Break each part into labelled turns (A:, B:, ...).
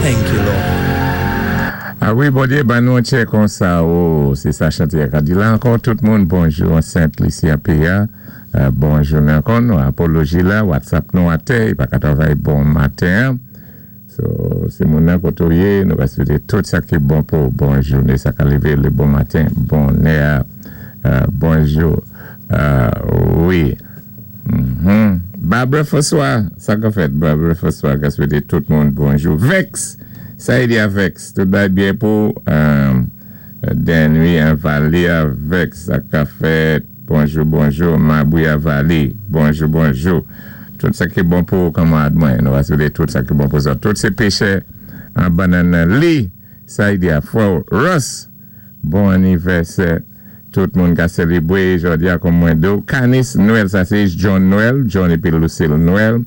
A: Thank you, Lord.
B: A wi, Bondyé ban nou tchè konsa o, sé sa chanté a ka di la ankò. Tout moun bonjou an Sent Lisi a peyi a bon jounen ankò. Nou apoloji la WhatsApp nou atè i pa ka travay bon maten an. So se moun nan koté ou yé, nou ka swété tout sa ki bon pou ou, bon jouné, sa ka lévé lé bon maten, bonè a, bonjou wi. Barbara François, sa ka fèt Barbara François ka swété tout moun bonjou. Vex, sa yé di a Vex, tout bagay byen pou ou, Denry an Valley a Vex, sa ka fèt, bonjou bonjou, Mabri a Valley, bonjou bonjou. Tout sa ki bon pou ou kanmarad mwen, nou va swété tout sa ki bon pou zòt. Tout sé péchè an bannann nan li, sa yé di a frè ou Russ, bon anivèsè tout moun ka sélébwé jòdi a kòm mwen di ou. Canis Noël, sa sé John Noël, John épi Lucille Noël,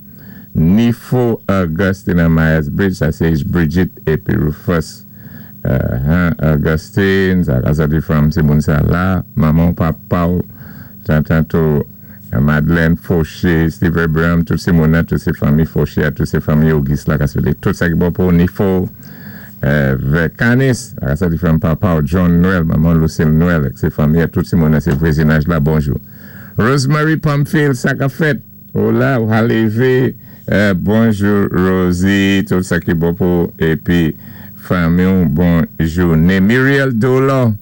B: Nifo Augustine an Myers Bridge, sa sé Bridget épi Rufus Augustine, sa ka sòti fanm si moun sa la, manman ou, papa ou, tantant ou Madeleine Fauché, Steve Abraham, tout sé moun nan, tout sé fanmi Fauché a, tout sé fanmi Auguste la ka swété tout sa ki bon pou ou, Nifo vè Canis, sa ka sòti fanm papa ou John Noël, manman Lucille Noël ak sé fanmi a, tout sé moun nan sé vwezinaj la, bonjou. Rosemary Pamphile, sa kap fèt? Ou la, ou ka lévé, bonjou Rosie, tout sa ki bon pou ou épi fanmi ou, bon jouné. Muriel Dolor,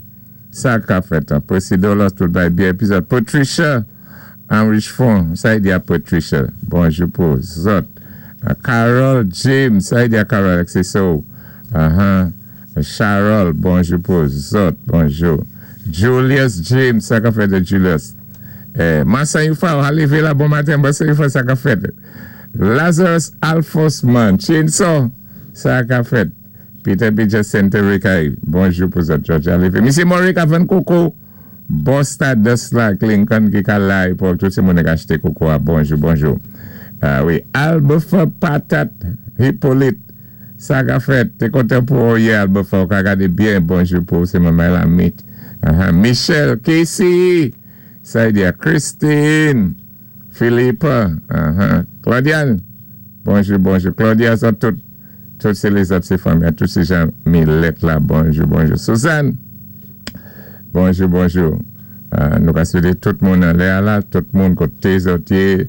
B: Sa ka fèt an Presidolo tout bay byen epizòd Patricia an Richefond sa y di a Patricia bonjou pou zòt Carol James sa y di a Carol ak se sè w ahan Charol bonjou pou zòt bonjou Julius James sa ka fèt Julius Marsan Youfa ou a leve la bon maten Marsan Youfa sa ka fèt Lazarus Alphonse man Chainsaw sa ka fèt. Peter Bidger Center Rekay bonjou pou zòt Georgia leve Misye Murray ka vann koko bò Stardust la ak Lincoln ki ka la epòk tout se moun ki achte koko a bonjou bonjou wi Albefer Patat Hyppolite sa ka fèt te kontan pou ou yè Albefer ou ka gade byen bonjou pou ou se manman Lamit Michel Casey sa y di a Christine Philippe Claudiane bonjou bonjou Claudia zòt tout. Tout se lezòt se fanmi an tout se jan milèt la bonjou bonjou Suzanne bonjou bonjou nou ka swete tout moun anlè a la tout moun kote zòt ye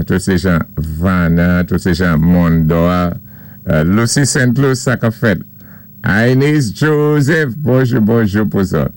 B: tout se jan Vana tout se jan Mondò a Lucie Saint Louis sa kap fèt Aines Joseph bonjou bonjou pou zòt.